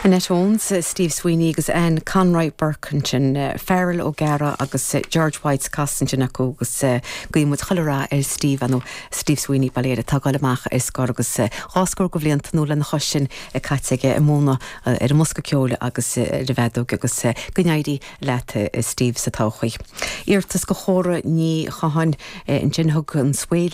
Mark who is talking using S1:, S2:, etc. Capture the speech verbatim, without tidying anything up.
S1: Annette Owens, Steve Sweeney agus Anne Conroy Burke ansin Farrell O'Gara agus George White's casansin acu agus guímid chuile rath ar Steve nó Steve Sweeney baléir tá gáil amach ar scor agus dhá scór de bhlianta nó lena chois sin caite aige ag múineadh ar an mbosca ceoil agus ar an bhfeadóg agus go n-éirí leat Steve sa todhchaí. Iarratas do Chóra Ní Chatháin ansin thug an swail